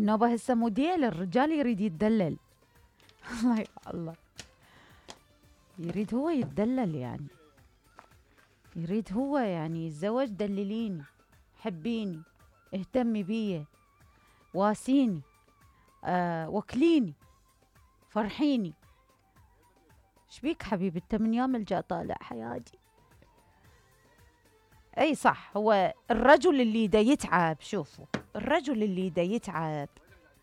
النوبة هسه موديل الرجال يريد يتدلل. الله يا الله، يريد هو يتدلل، يعني يريد هو يعني يتزوج دلليني، حبيني، اهتمي بيه، واسيني، وكليني، فرحيني. شبيك حبيبي انت من يوم الجا طالع حياتي؟ اي صح، هو الرجل اللي دا يتعب، شوفوا الرجل اللي دا يتعب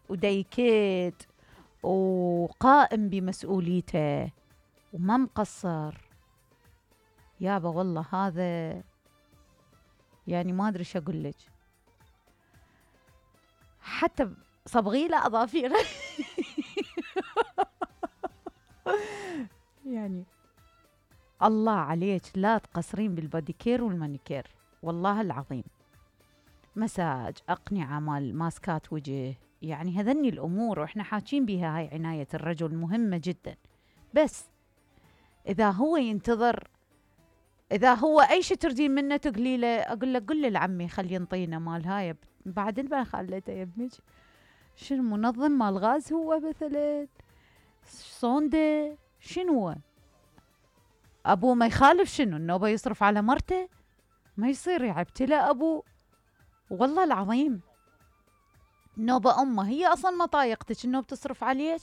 ودا يكد وقائم بمسؤوليته وما مقصر، يابا والله هذا يعني ما ادري شو اقول لك، حتى صبغي له اظافيره. يعني الله عليك لا تقصرين بالباديكير والمانيكير، والله العظيم. مساج، أقنعة مال ماسكات وجه، يعني هذني الأمور وإحنا حاكين بها، هاي عناية الرجل مهمة جدا. بس إذا هو ينتظر، إذا هو أي شيء تردين منه تقولي له، أقول له قل لعمي خلي ينطينا مال هاي، بعدين ما خليته يا ابنك شنو منظم مال غاز هو مثلا، صونده شنو هو؟ أبوه ما يخالف شنو النوبة يصرف على مرته؟ ما يصير يعبتله أبوه، والله العظيم. نوبة أمه هي أصلا ما طايقتك النوبة تصرف عليك،